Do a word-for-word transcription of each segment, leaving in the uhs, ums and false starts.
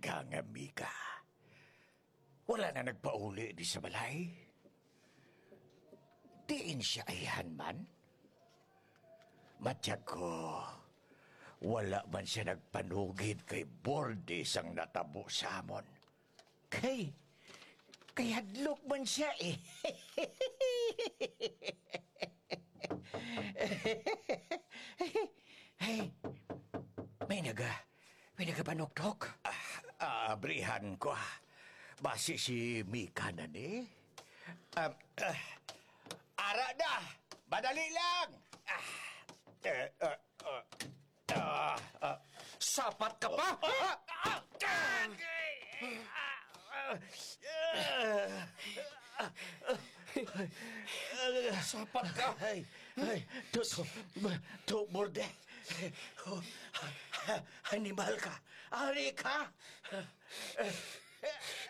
Mika nga Mika. Wala na nagpauli di sa balay? Diin siya ayhan man? Matyag ko, wala man siya nagpanugid kay Bordy sang natabo sa amon. Kay, kay hadlok man siya eh. Ay, may naga, may nagapanuktok. Ah, ah, abrihan ko, ah. Basi si Mika na ni. Ah, ah, ara na! Madali lang! Ah, eh, ah, ah, ah, ah. Sapat ka pa? Ah, ah, ah, ah, ah, ah. Sapat ka? Ay, ay, to, to, to, Bordy. Animal ka. Ari ka.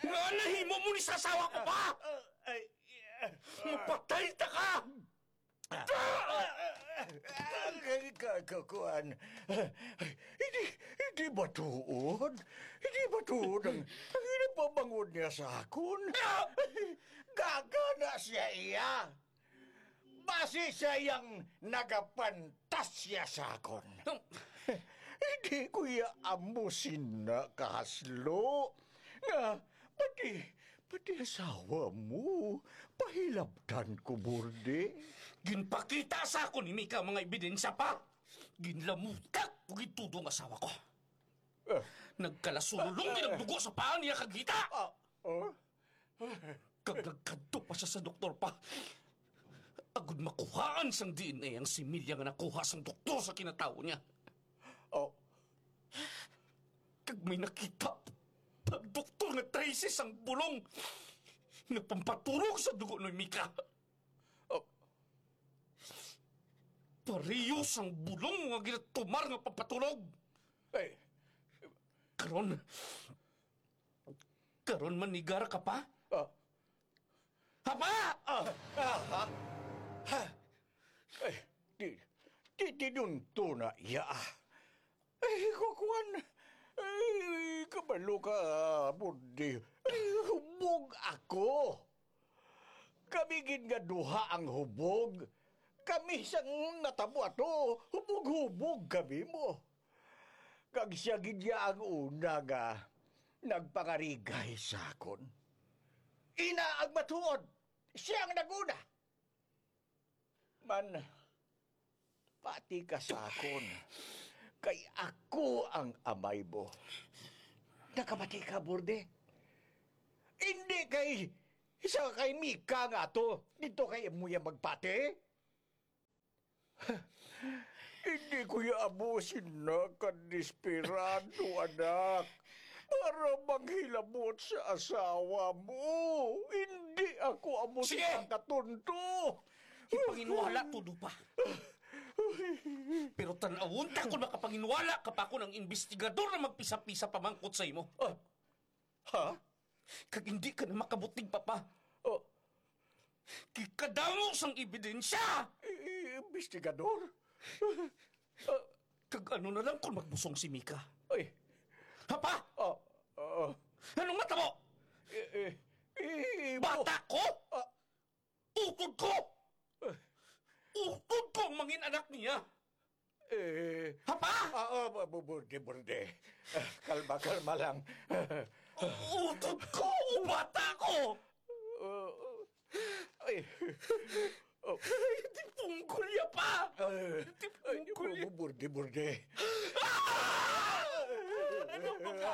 Nga nahimo mo ni sa asawa ko pa? Ay, mapatay ta ka! Ka, ka, ka, kuan. Hindi, hindi ba tuod? Hindi ba tuod ang, ang ginapamangod niya sa akon? Gagana siya iya. Basi siya yang nagapantasya sa akon. Hindi ko iya amo sina kahaslo. Nga, pati, pati asawa mo, pahilabtan ko, Bordy. Ginpakita sa akon ni Mika ang mga ebidensya pa. Ginlamutak ko gid tudo ang asawa ko. Ah. Nagkalasululong gid ang dugo sa paa niya kag hita. Ah, oh? Kag nagkadto pa siya sa doktor pa. Agud makuhaan sang D N A ang similya nga nakuha sang doktor sa kinatawo niya. Oh. Kag may nakita ang doktor nga trese sang bulong nga pampaturog sa dugo ni Mika. Oh. Pareho sang bulong nga ginatumar nga pampaturog. Eh. Karon, karon manigara ka pa? Ah. Hapa! Ah, ah, ah. Ha? Ay, di, di, di dun to na iya, ah. Ay, kukuan. Ay, kabalo ka, Bordy. Ay, hubog ako. Kami gid nga duha ang hubog. Kami sang natabo ato, hubog-hubog kami mo. Kag siya gid ya ang una nga nagpangarigay sa akon. Ina ang matuod, siya ang nag-una. Man, pati ka sa akon, kay ako ang amay mo. Nakabati ka, Bordy? Hindi kay isa kay Mika nga ato, dito kay imo ya magpati? Hindi ko ya amo sina kadesperado, anak, para manghilabot sa asawa mo. Hindi ako amo Sige! sina katonto. Ipanginwala tudo pa. Pero tan-awon ta kung makapanginwala ka pa kung ang investigador na magpisa-pisa pamangkot sa imo. Ah, Ha? Kag hindi ka na makabutig, Papa. Oh. Kay kadamo sang ebidensya! I-, i-, investigador? Ah. Kag ano na lang kung magbusong si Mika? Ay. Papa! Oh, oh. Anong mata mo? Eh, eh, eh, Bata ko! Ah. Utod ko! Eh. Utod ko ang mangin anak niya! Eh. Papa! Ah, ah, bu-, bu-, burde, burde. Ah, kalma, kalma lang. Utod ko! Bata ko! Ah, ay. Oh. Ay, di punggol ya pa! Ay, Di ay, punggol ya. Bu-, burde, burde. Ah! Ano ba ka?